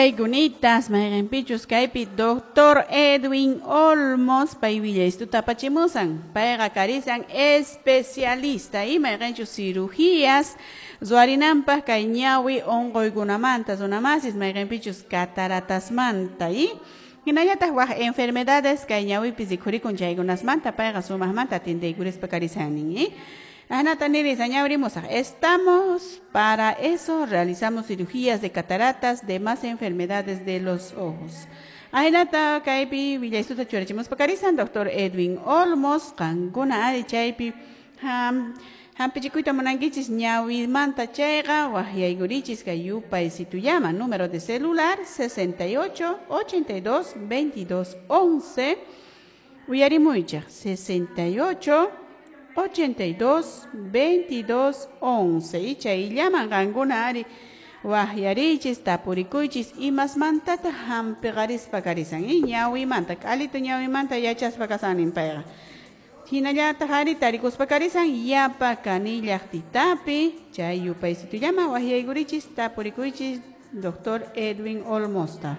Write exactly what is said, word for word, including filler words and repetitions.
Willaykunitas mayqinpichus kaypi Doctor Edwin Olmos pay willaystuta apachimusan, payqa karisan especialista y mayqinchus cirugías ruwarinanpaq kay ñawi unquykunamanta runamasis mayqinpichus cataratasmanta y hinallataq waq enfermedades kay ñawipi rikhurikun chaykunasmanta payqa sumaqmanta atindiykurispa karisan y Anata nirisan ñawrimusaq. Estamos para eso, realizamos cirugías de cataratas, demás enfermedades de los ojos. Ahinata kaypi willaystuta churachimuspa karisan Doctor Edwin Olmos, qankuna ari chaypi ham hampichikuyta munankichis ñawimanta chayqa waqyaykurichis kay yupaysitullama número de celular sesenta y ocho, ochenta y dos, veintidós, once. Uyarimuychaq sesenta y ocho, ochenta y dos, veintidós, once. Y chayllaman qankuna ari waqyarichis tapurikuychis imasmantata hampiqarispa karisan y ñawimanta k'alitu ñawimanta yachaspa kasanin payqa hinallataq ari tarikuspa karisan yapa kanillaqtitapi chay yupaysitullama waqyaykurichis tapurikuychis Doctor Edwin Olmosta.